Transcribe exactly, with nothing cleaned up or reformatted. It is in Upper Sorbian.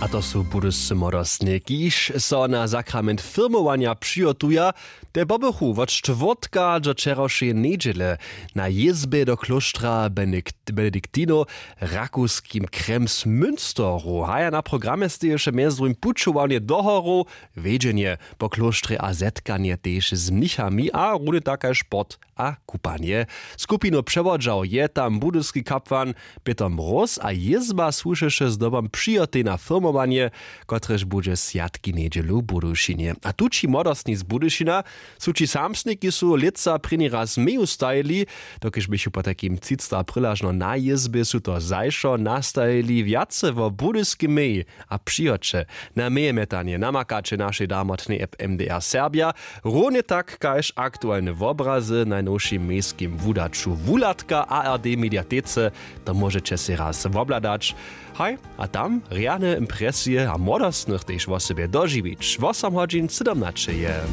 A to su budyscy młodostnje, kiž so na sakrament firmowanja přihotuja. Te pobychu wot štwórtka do wčerawšeje njedźele na jězbje do klóštra benediktinow w rakowskim kremsmünsteru. Haja na programje steješe mjez druhim pućowanje do horow, wjedźenje po klóštrje a zetkanje tež z mnichami a runje tak kaž sport a kupanje. Skupinu přewodźał je tam budyski kapłan pětr mróz a jězba słušeše zdobom přihotej na firmowanje, kotrež budźe swjatki njedźelu w budyšinje. A tući młodostni z budyšina su ći samsniki su lětsa prěni raz meju stajili, dokelž běchu potajkim třicta prylažno na jězbje su to zašo nastajili. Wjace wo budyskim mej a přihoće na mejemjetanje namakaće našej darmotnej app mdr serbja. Runje tak kaž aktualne wobrazy w najnowšim mejskim wudaću wuhladka ard mediatece. To móžeće sej raz wobhladać. Haj, a tam rjane impresije a młodostnych tež wosebje dožiwić wosomhodźin sydomnaćeje.